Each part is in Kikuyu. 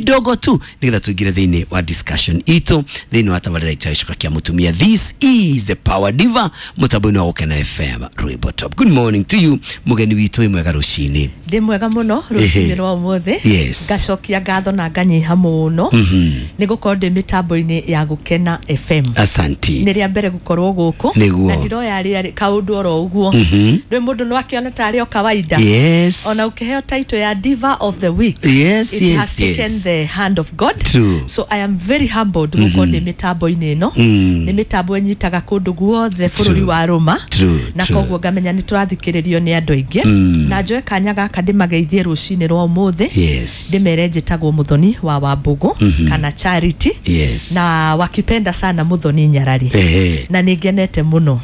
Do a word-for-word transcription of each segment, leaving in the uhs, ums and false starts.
kidogo tu nigetha tuingire thiini wa discussion itu thiini wa tabarira itu ya Gĩcuka kĩa Mũtumia. This is the Power Diva mutambo-inĩ wa Gũkena F M Rwĩmbo Top. Good morning to you mugeni witũ wĩ mwega rũcinĩ. Ndĩ mwega mũno rũcinĩ rwa ũmũthĩ. Yes. Ngacokia ngatho na nganyiha mũno nĩ gũkorwo ndĩ mĩtambo-inĩ ya Gũkena F M. Asanti. Nĩ rĩa mbere gũkorwo gũkũ na ndiroya rĩa kaũndũ oro ũguo. Rĩ mũndũ no akĩona tarĩ o kawaida. Yes. Ona ũkĩheo title ya Diva of the Week. Yes, it yes, has taken yes. the hand of God. True. So I am very humbled gũkorwo ndĩ mĩtambo-inĩ ĩno. Nĩ mĩtambo ĩnyitaga kũndũ guothe bũrũri wa Roma. Na koguo ngamenya nĩ tũrathikĩrĩrio nĩ andũ aingĩ. Na njoe kanya gaka ndĩmageithie rũcinĩ rwa ũmũthĩ. Yes. Ndĩmere njĩtagwo Muthoni wa Wambugu kana Charity. Yes. Na wakipenda sana Muthoni Nyarari. Ehe. Na nĩngenete mũno.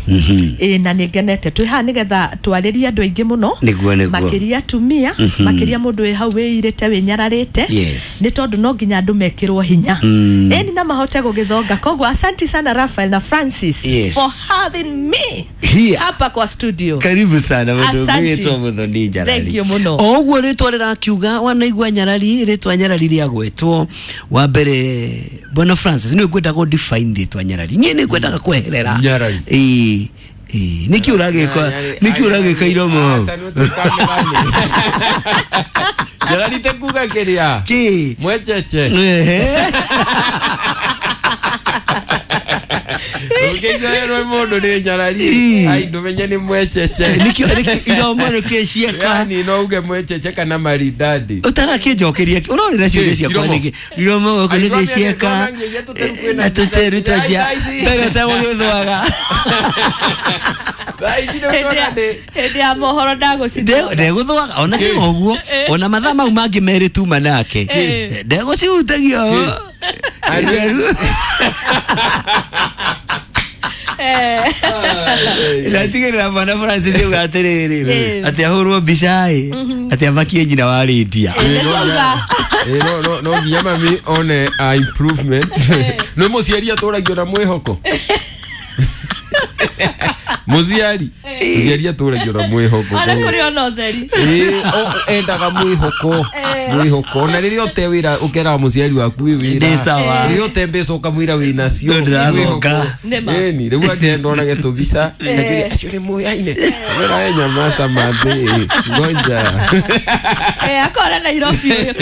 Ĩ na nĩngenete twĩ haha nĩgetha twarĩrie andũ aingĩ mũno. Nĩguo nĩguo. Makĩria atumia, makĩria mũndũ wĩ hau wĩirĩte wĩnyararĩte. Yes. Nĩ tondũ no nginya andũ mekĩrwo hinya. Ĩni na mahote gũgĩthonga. Koguo asanti sana Raphael na Francis. Yes. For having me here hapa kwa studio. Karibu sana mũndũ witũ Muthoni Nyarari. Thank you mũno. O ũguo rĩtwa rĩrakiuga wanaigua Nyarari, rĩtwa Nyarari rĩagwetwo wa mbere Bwana Francis nĩ ngwendaga ũ define rĩtwa Nyarari. Niĩ nĩ ngwendaga kweherera. Nyarari. Ĩĩ. Ĩĩ nĩkĩ ũragĩka nĩkĩ ũragĩka iromo? Nyarari te kuga kĩrĩa? Kĩ? Mwecheche. Ũngĩigua mũndũ nĩ Nyarari ai ndũmenye nĩ mwecheche. Nĩkĩo iromo nĩkĩ cieka? Yani no uge mwecheche kana maridadi. Ũtarakĩnjokeria ũrorera ciũria ciakwa nĩkĩ? Iromo gũkũ nĩkĩ cieka? Na tũteru twanjia mbere ũtagũgĩthwaga. Hĩndĩ ya mohoro ndagũcithwaga. Ndegũthwaga ona tiga ũguo ona mathaa mau mangĩ merĩ tuma nake ndegũcihutagia. Ndatigĩrĩra Bwana Francis auga atĩrĩrĩ atĩ ahũrwo mbica ĩ atĩ amakie nyina wa Lydia. No no no nginya mami one a improvement. Nĩ mũciari atũragio na mwĩhoko. Mũciari mũciari atũragio na mwĩhoko. Ona kũrĩ ona ũtheri. Ĩ endaga mwĩhoko mwĩhoko na rĩrĩa ũte wĩra ũkeraga mũciari waku wĩ wĩra. Ndĩ sawa. Rĩrĩa ũte mbeca ũkamwĩra wĩ nacio. Ndĩrathonga. Ĩni rĩu angĩ ndonage tũbica ngakĩria acio nĩ moyaine. Wĩra we nyamata mathĩ ngoja. Eh akora Nairobi ũyũ.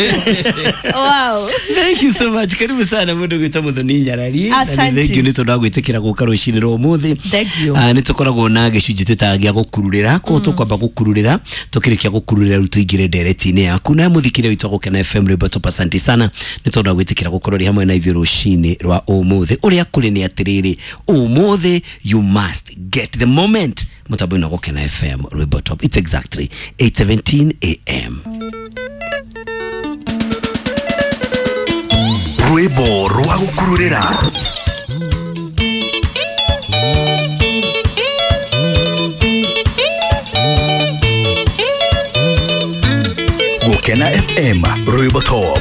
Wow. Thank you so much. Karibu sana mũndũ gwĩtwo Muthoni Nyarari. Na thank you nĩ tondũ wa gwĩtĩkĩra gũka rũcinĩ rwa ũmũthĩ. Thank you. Nĩ tũkoragwo na gĩcunjĩ twĩtaga gĩa gũkururĩra. Koguo tũkwamba gũkururĩra tũkĩrĩkia gũkururĩra rĩu tũingĩre ndereti-inĩ yaku na mũthikĩre witũ Gũkena F M Rwĩmbo Top. Asante sana nĩ tondũ wa gwĩtĩkĩra gũkorwo rĩ hamwe na ithuĩ rũcinĩ rwa ũmũthĩ. Ũrĩa kũrĩ nĩ atĩrĩrĩ ũmũthĩ you must get the moment mũtambo-inĩ wa Gũkena F M Rwĩmbo Top. It's exactly eight seventeen A M. Rwĩmbo rwa gũkururĩra. Gũkena F M Rwĩmbo Top.